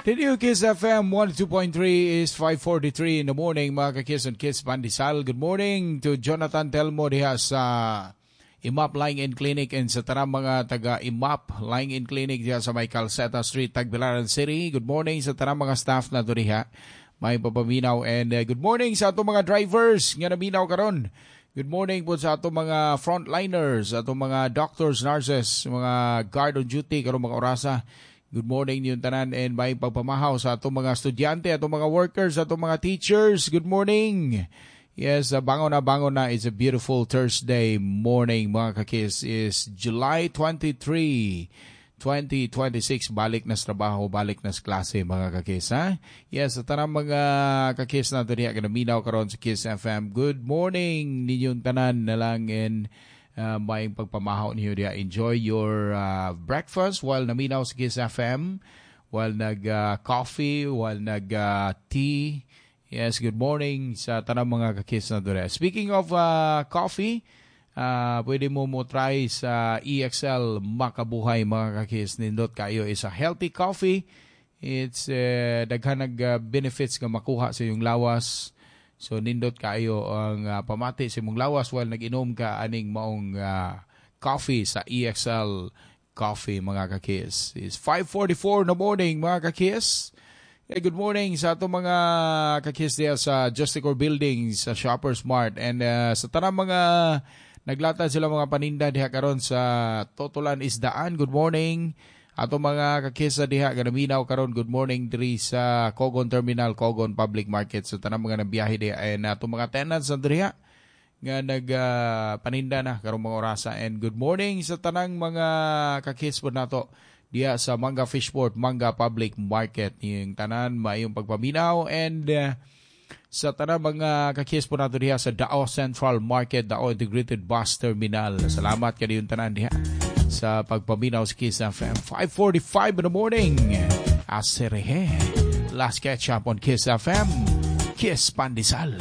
The new Kiss FM 102.3 is 5:43 in the morning, mga ka-Kiss and Kiss Pandesal. Good morning to Jonathan Telmo diha sa IMAP Lying In Clinic and sa tanang mga taga IMAP Lying In Clinic diha sa may Calceta Street, Tagbilaran City. Good morning sa tanang mga staff na diha. May papaminaw and good morning sa atong mga drivers nga naminaw karon. Good morning po sa atong mga frontliners, atong mga doctors, nurses, mga guard on duty karong mga orasa. Good morning ninyong tanan and may pagpamahaw sa atong mga estudyante, atong mga workers, atong mga teachers. Good morning. Yes, bangon na, bangon na. It's a beautiful Thursday morning, mga kakis. Is July 23, 2026. Balik na sa trabaho, balik na sa klase, mga kakis. Ha? Yes, sa tanang mga kakis na diha ganaminaw karon sa Kiss FM. Good morning ninyong tanan na lang and maayong pagpamahaw niyo diha. Enjoy your breakfast while naminaw sa Kiss FM, while nag coffee, while nag tea. Yes, good morning sa tanang mga kakis na dure. Speaking of coffee, pwede mo mo try sa EXL Makabuhay, mga kakis. Nindot kayo is a healthy coffee. It's daghan nag benefits nga makuha sa iyong lawas. So nindot kayo ang pamati sa imong lawas while nag-inom ka aning maong coffee sa EXL Coffee, mga kakis. It's 5:44 in the morning, mga kakis. Hey, good morning sa atong mga kakis diya sa Justicor Building sa Shoppers Mart and sa tanang mga naglatad sila mga paninda diha karon sa Totolan Isdaan. Good morning. Ato mga kakisa diha ganaminaw karon, good morning diri sa Cogon Terminal, Cogon Public Market, sa tanang mga nabiyahe diha and ato mga tenants na diha nga nag paninda na karong mga orasa and good morning sa tanang mga kakis po nato diha sa Manga Fishport, Manga Public Market. Yung tanan, maayong pagpaminaw and sa tanang mga kakis po nato diha sa Dao Central Market, Dao Integrated Bus Terminal. Salamat kaninyong tanan diha sa pagpaminaw sa Kiss FM. 5:45 in the morning. Aserehe. Last catch up on Kiss FM. Kiss Pandesal.